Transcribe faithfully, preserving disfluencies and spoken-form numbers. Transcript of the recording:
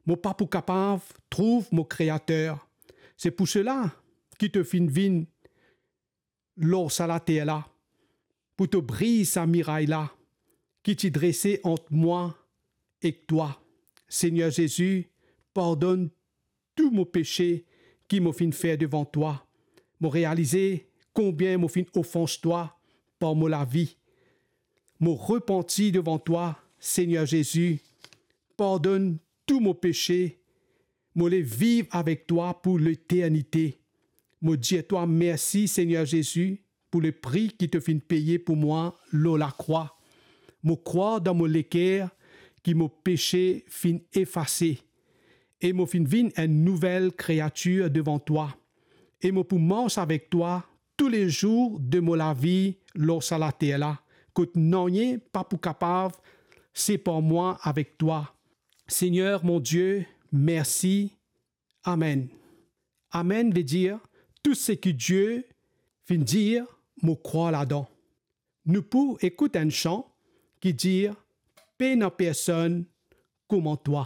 Mo pa pou kapav trouv mo Kreater. Se pou sela ki to finn vinn lor sa later la, pou to briz sa miray la ki ti drese ant mwa ek twa. Segner Zezi, pardonn tou mo pese ki mo finn fer devan twa. Mo realize konbien mo finn ofans twa par mo lavi. Mo repanti devan twa, Segner Zezi. Pardonn tou mo pese. Mo le viv avek twa pou leternite. Mo dir twa mersi, Segner Zezi, pou lepri ki to finn peye pou mwa lor lakrwa. Mo krwar dan mo leker ki mo pese finn efase e mo finn vinn enn nouvel kreatir devan twa. E mo pou mars avek twa toulezour de mo lavi lor sa later la, kot nanye pa pou kapav separ mwa avek twa. Segner mon Die, mersi. Amen. Amen ve dir, tou seki Die finn dir, mo krwar ladan. Nou pou ekout enn san ki dir, pena personn kouma twa.